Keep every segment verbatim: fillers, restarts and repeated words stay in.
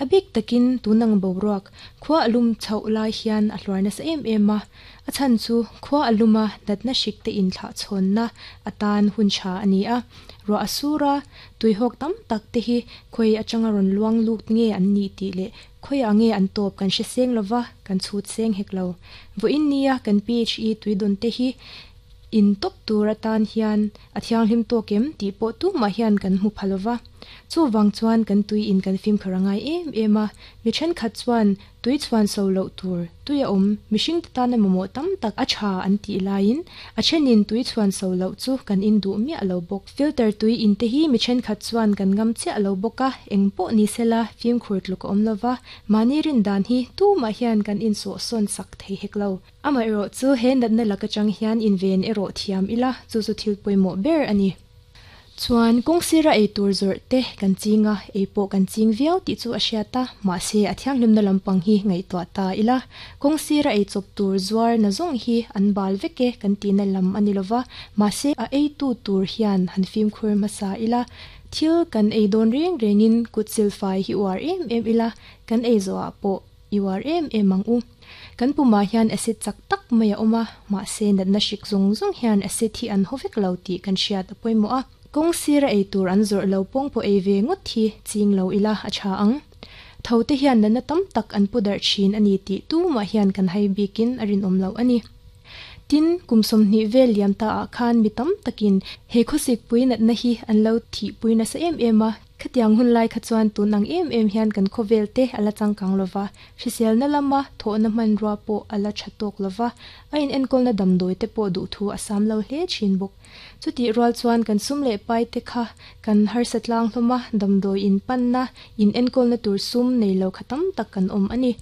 A bik takin tunang boruak khua alum chho lai hian a hluar nasa em em a a chhan chu khua aluma natna hrik te in thlah chhawn na atan hun tha ani a ro asura tuihawk tam tak te hi khoi atanga rawn luang lut nge an ni tih leh khoi a nge an tawp kan hre seng lova kan chhut seng hek lo vawiin nia kan P H E tuidun te hi in top tur atan hian a thianghlim tawk em tih pawh tumah hian kan hmu phalova chu wang chuan kan tui in kan fim kharangai em em a mi thenkhat chuan tui chuan so lo tur tui a awm mihring te tan emaw tam tak a tha an tih laiin a thenin tui chuan so lo chu kan in duh miah lo bawk filter tui in te hi mi thenkhat chuan kan ngam chiah lo bawk a eng pawh ni sela fim khur tluk a awm lova mani rin dan hi tumah hian kan in saw sawn sak thei hek lo ama ero chu he natna laka chang hian in ven ero thiam ila chu chu thil pawimawh ber ani chuan kawngsira ei tur zawrh te kan chinga ei pawh kan ching viau tih chu a hriat a mahse a thianghlim na lampang hi ngaihtuah ta ila kawngsira ei chawp tur zuar na zawng hi an bal vek e kan ti na lam ani lova mahse a ei tu tur hian han fimkhur hmasa ila thil kan ei dawn reng rengin kut silfai hi uar em em ila kan ei zawh ah pawh i uar em em ang u kan puma hian acid chak tak mai a awm a mahse natna hrik zawng zawng hian acid hi an haw vek lo tih kan hriat a pawimawh a kawngsira ei tur an zawrh lo pawng pawh ei ve ngawt hi ching lo ila a tha ang tho te hian natna tam tak an pu darh thin ani tih tumah hian kan hai bikin a rinawm lo ani tin kum sawmhnih vel liam ta ah khan mi tam takin he khawsik pui natna hi an lo thih pui nasa em em a khatiang hun lai kha chuan tunang em em hian kan khawvel te ala changkang lova hrisel na lama thawhna hmanrua pawh ala tha tawk lova a in enkawl na damdawi te pawh duh thu a sam lo hle thin bawk chuti rual chuan kan sum leh pai te kha kan harsa tlang hlawma damdawi in panna in enkawl na tur sum nei lo kha tam tak kan awm ani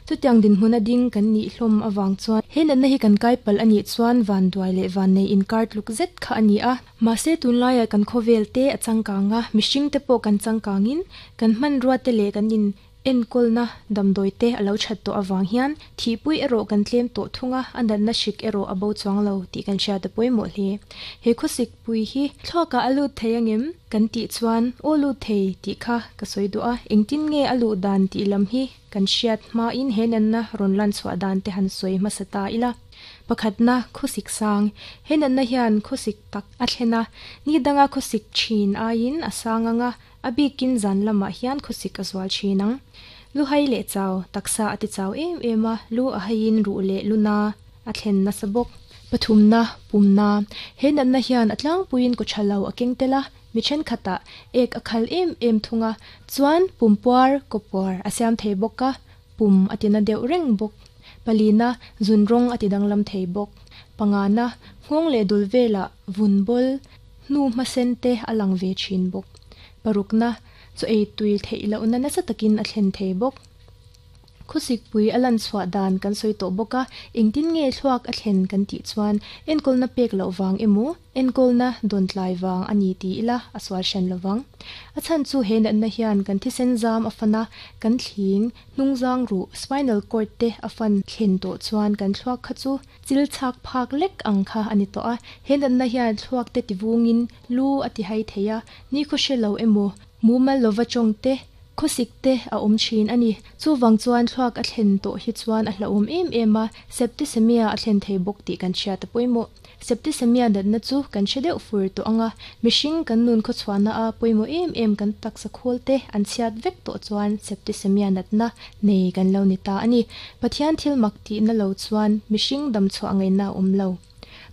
chutiang din hmun a ding kan nih hlawm awang chuan he natna hi kan kai pal ani chuan van duai leh van nei in kar tluk zet kha ani a mahse tunlaia kan khawvel te a changkanga mihring te pawh kan changkangin kan hmanrua te leh kan in enkawl na damdawi te alo that tawh awang hian thihpui erawh kan tlem tawh thunga a natna hrik erawh a bo chuang lo tih kan hriat a pawimawh hle he khawsik pui hi thluakah a lut thei angem kan tih chuan aw lut thei tih kha ka sawi duh a engtin nge a luh dan tih lam hi kan hriat hmain he natna rawn lan chhuah dan te han sawi hmasa ta ila pakhatna khawsik sang he natna hian khawsik tak a thlena ni danga khawsik thin aiin a sang anga a bikin zan lamah hian khawsik a zual thin ang lu hai leh chau taksa a ti chau em em a lu a haiin ruh leh luna a thlen nasa bawk pathumna pumna he natna hian a tlangpuiin ko thalo a keng tela mi thenkhat ek a khal em em thunga chuan pumpuar kawpuar a siam thei bawk a pum a tina deuh reng bawk palina zunrawng a ti danglam thei bawk pangana nghawng leh dul vela vun bawl hnu hmasen te a lang ve thin bawk parukna chu ei tui theih lohna nasa takin a thlen thei bawk khawsik pui a lan chhuah dan kan sawi tawh bawk a engtin nge thluak a thlen kan tih chuan enkawlna pek loh wang emaw enkawlna dawn tlai wang ani ti ila a sual hran lovang a chhan chu he natna hian kan thisen zam a fana kan thling hnungzang ru spinal cord te a fan thlen tawh chuan kan thluak kha chu chil chhak phak lek ang kha ani tawh a he natna hian thluak te tiwungin lu a ti hai theia ni khaw hre lo emaw mumal lova chawng te khawsik te a awm thin ani chuwang chuan thluak a thlen tawh hi chuan a hlauhawm em em a septicemia a thlen thei bawk tih kan hriat a pawimawh septicemia natna chu kan hre deuh fur tawh anga mihring kan nun khaw chhuahna a pawimawh em em kan taksa khawl te an chhiat vek tawh chuan septicemia natna nei kan lo ni ta ani Pathian thil mak tih na lo chuan mihring dam chhuah ngaihna a awm lo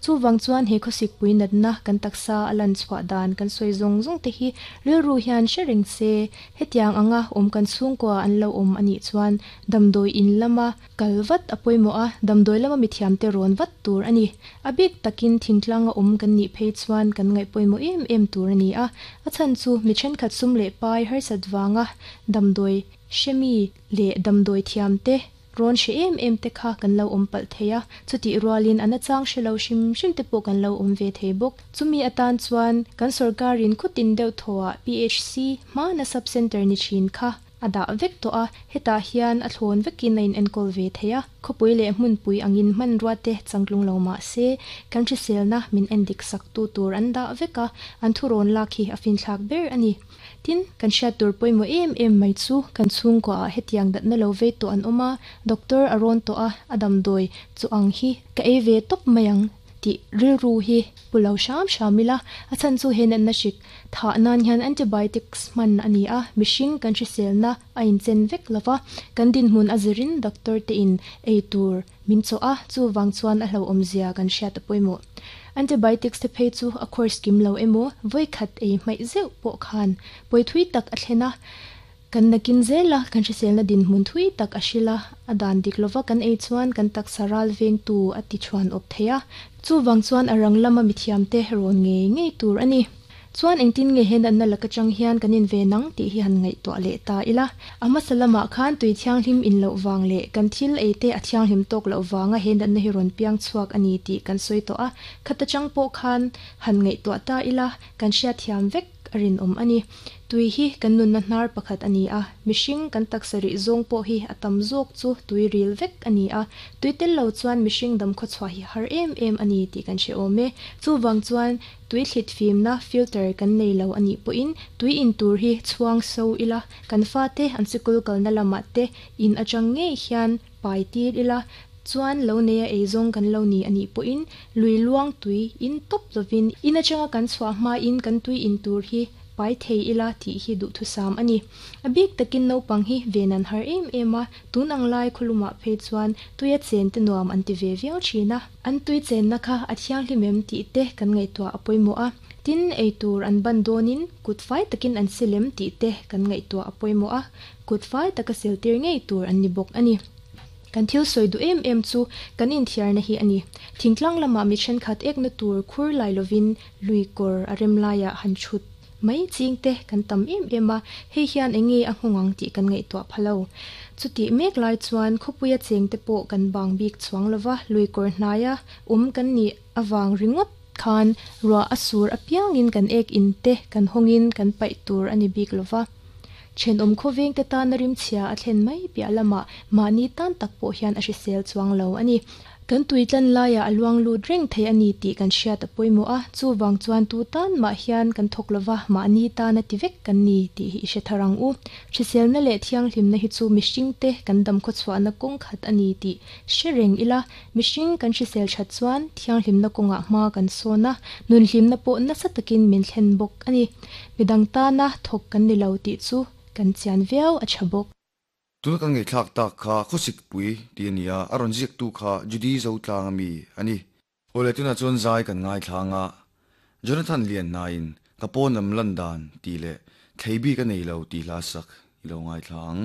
chuwang chuan he khawsik pui natna kan taksa a lan chhuah dan kan sawi zawng zawng te hi rilru hian hre reng se hetiang anga awm kan chhungkua an lo awm anih chuan damdawi in lama kalvat a pawimawh a damdawi lama mithiam te rawn vat tur ani a bik takin thingtlang a awm kan nih phei chuan kan ngaih pawimawh em em tur ani a a chhan chu mi thenkhat sum leh pai harsat wanga damdawi hremi leh damdawi thiam te rawn hre em em te kha kan lo awm palh thei a chuti rualin ana chang hre lo hrim hrim te pawh kan lo awm ve thei bawk chumi atan chuan kan sarkarin khutin deuh thawah P H C hma na sub center ni thin kha a dah vek tawh a, hetah hian a thlawn vekin a in enkawl ve thei a, khawpui leh hmunpui angin hmanrua te changtlung lo mah se kan hriselna min endik sak tu tur an dah vek a, an thurawn lak hi a finthlak ber a ni. Tin, kan hriat tur pawimawh em em mai chu kan chhungkua ah hetiang datna lo vei tawh an awm a, doctor a rawn tawh a, a damdawi chu ang hi ka ei ve tawp mai ang tih rilru hi pu lo hram hram ila, a chhan chu he natna hrik thah nan hian antibiotics hman a ni a, mihring kan hriselna a inchen vek lova, kan dinhmun a zirin doctor te in ei tur min chawh a, chuvang chuan a hlauhawm zia kan hriat a pawimawh. Antibiotics te phei chu a course kim lo emaw vawikhat ei hmaih zeuh pawh khan pawi thui tak a thlen a, kan nakin zel a, kan hriselna dinhmun thui tak a hril a, a dan dik lova kan ei chuan kan taksa ral vengtu a ti thuan awp thei a, chuvang chuan a rang lama mithiam te rawn ngei ngei tur a ni. Chuan engtin nge he natna laka chang hian kan in ve nang tih hi han ngaihtuah leh ta ila. A hmasa lamah khan tui thianghlim in loh vang leh kan thil ei te a thianghlim tawk loh vanga he natna hi rawn piang chhuak a ni tih kan sawi tawh a, khata chang pawh khan han ngaihtuah ta ila kan hriatthiam vek a rinawm a ni. Tui hi kan nunna hnar pakhat a ni a, mihring kan taksa rih zawng pawh hi a tam zawk chu tui ril vek a ni a, tui tel lo chuan mihring dam khawchhuah hi har em em a ni tih kan hre awm e. Chuvang chuan tui thlit fimna filter kan nei lo a nih pawhin tui in tur hi chhuang so ila, kan fate an sikul kalna lamah te in atang ngei hian pai tir ila, chuan lo neia eizawng kan lo ni a nih pawhin lui luang tui in tawp lovin in atanga kan chhuah hmain kan tui in tur hi pai thei ila tih hi duhthusam a ni. A bik takin naupang hi ven an har em em a, tun ang lai khawlumah phei chuan tuia chen te nuam an ti ve viau thin a, an tui chenna kha a thianghlim em tih te kan ngaihtuah a pawimawh a, tin ei tur an ban dawnin kut fai takin an silem tih te kan ngaihtuah a pawimawh a, kut fai taka sil tir ngei tur an ni bawk a ni. Kan thil sawi duh em em chu kan inthiarna hi a ni. Thingtlang lamah mi thenkhat ekna tur khur lai lovin lui kawr a rem laiah han thut mai ching te kan tam em em a, hei hian enge a nghawng ang tih kan ngaihtuah phalo. Chutih mek lai chuan khawpuia cheng te pawh kan bang bik chuang lova lui kawr hnaia awm kan nih awang ringawt khan ruah a sur apiangin kan ek in te kan hawngin kan paih tur a ni bik lova. Then awm khawveng te tan a rimchhia a thlen mai piah lamah mahni tan tak pawh hian a hrisel chuang lo a ni. Kan tui tlan laiah a luang lut reng thei a ni tih kan hriat a pawimawh a, chuvang chuan tu tan mah hian kan thawk lova mahni tan a ti vek kan ni tih hi i hre thar ang u. Hriselna leh thianghlimna hi chu mihring te kan dam khawchhuahna kawng khat a ni tih hre reng ila, mihring kan hrisel that chuan thianghlimna kawngah hma kan sawn a, nunhlimna pawh nasa takin min thlen bawk a ni. Midang tana thawk kan ni lo tih chu kan chian viau a tha bawk. Tuna kan ngaihthlak tak kha khawsik pui tih a ni a, a rawn ziak tu kha Judy Zotlang ami a ni. Awle tunah chuan zai kan ngaithlang a, Jonathan Lian hnain ka pawn lam lan dan tih leh thlei bik a nei lo tih hla sak i lo ngaithla ang.